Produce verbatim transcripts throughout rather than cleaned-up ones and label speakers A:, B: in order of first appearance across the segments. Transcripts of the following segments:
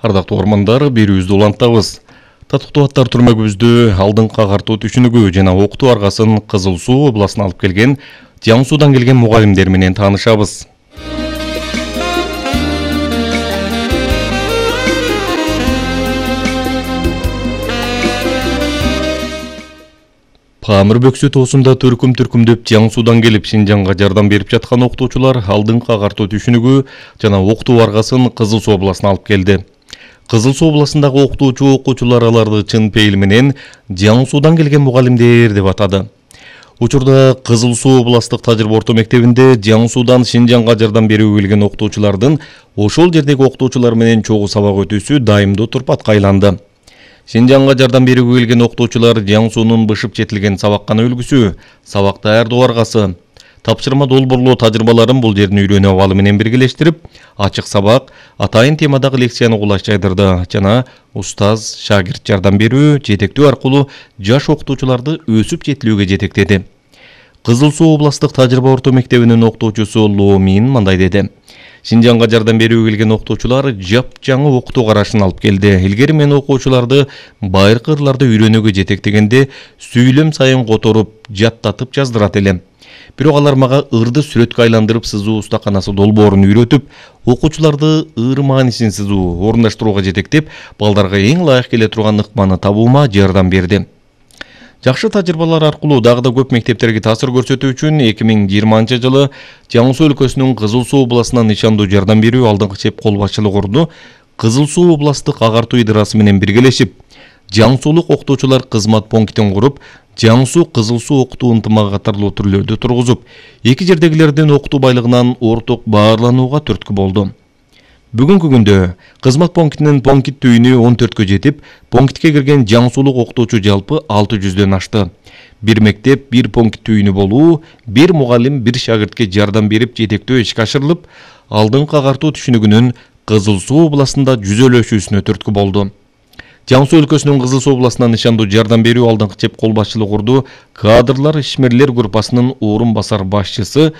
A: Ардактуу ормандар, берүүбүздү улантабыз. Татыктуу аттар түрмөгүбүздү алдыңкы агартуу түшүнүгү жана окутуу аргасын Кызыл Суу областына алып келген Жаңы Суудан келген мугалимдер менен таанышабыз. Памир бөксө тоосунда төркүм-төркүмдөп Жаңы Суудан келип Шинжаңга жардам берип жаткан окутуучулар алдыңкы агартуу түшүнүгү жана окутуу аргасын Кызыл Суу областына алып келди. Кызыл Суу областындагы окутуучу окуучулар аларды чын пейил менен Жаңы Суудан келген мугалимдер деп атады. Учурда Кызыл Суу областык тажрыйба орто мектебинде Жаңы Суудан Шинжаңга жардам берүүгө келген окутуучулардын ошол жердеги окутуучулар менен чогуу сабак өтүүсү дайымдуу турпатка айланды. Шинжаңга жардам берүүгө келген окутуучулар Жаңы Суунун бышып жетилген сабаккана үлгүсү, сабак даярдоо аргасы, тапшырма долбоорлоо тажрыйбаларын бул жердин үйрөнүп алуу менен биргелештирип, ачык сабак, атайын темадагы лекцияны кулаш жайдырды жана устаз, шагирт жардам берүү, жетектөө аркылуу жаш окутуучуларды өсүп жетилүүгө жетектеди. Кызыл Суу областык тажрыйба орто мектебинин окутуучусу Лоомин мындай деди. Шинжаңга жардам берүүгө келген окутуучулар жапжаңы окутуу карашын алып келди. Илгери мен окуучуларды байыркы ырларды үйрөнүүгө жетектегенде сүйлөм сайын которуп, жаттатып жаздырат элем. Бирок алар мага ырды сүрөткө айландырып сызуу устаканасы долбоорун үйрөтүп, окуучуларды ыр маанисин сызуу, орундаштырууга жетектеп, балдарга эң ылайык келе турган ыкманы табуума жардам берди. Жакшы тажрыйбалар аркылуу дагы да көп мектептерге таасир көрсөтүү үчүн эки миң жыйырманчы жылы Жаңы Суу өлкөсүнүн Кызыл Суу областынан нышандуу жардам берүү алдыңкы чеп кол башчылык орду Кызыл Суу областык агартуу идарасы менен биргелешип, Жаңы Суулук окутуучулар кызмат пунктин куруп, Жаңы Суу Кызыл Суу окутуу ынтымагы катарлуу түрлөрдү тургузуп, эки жердегилердин окутуу байлыгынан орток баарланууга түрткү болду. Бүгүнкү күндө кызмат пунктинин пункт түйүнү он төрткө жетип, пунктке кирген Жаңы Суулук окутуучу жалпы алты жүздөн ашты. Бир мектеп, бир пункт түйүнү болуу, бир мугалим, бир шагиртке жардам берип жетектөө ишке ашырылып, алдыңкы агартуу түшүнүгүнүн Кызыл Суу областында жүзөлөшүүсүнө түрткү болду. Жаңы Суу өлкөсүнүн Кызыл Суу областынан нышандуу жардам берүү алдыңкы чеп кол башчылык орду кадрлар ишмерлер группасынын орун басар башчысы,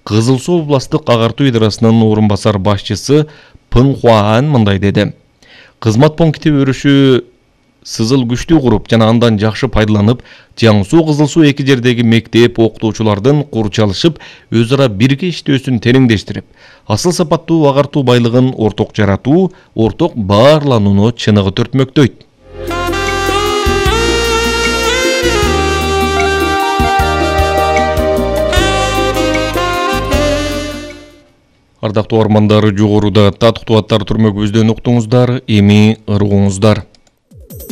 A: Кызыл Суу областык агартуу идарасынын орун басар башчысы Пын Хуаан мындай деди. Кызмат пункти өрүшү сызыл күчтүү куруп жана андан жакшы пайдаланып, Жаңы Суу Кызыл Суу эки жердеги мектеп окутуучулардын курчалышып, өз ара бирге иштөөсүн тереңдештирип, асыл сапаттуу агартуу байлыгын орток жаратуу, орток баарланууну чыныгы төртмөктөйт. Ардактуу ормандар, жогоруда татыктуу аттар түрмөгүбүздөн уктуңуздар, эми ыргуңуздар.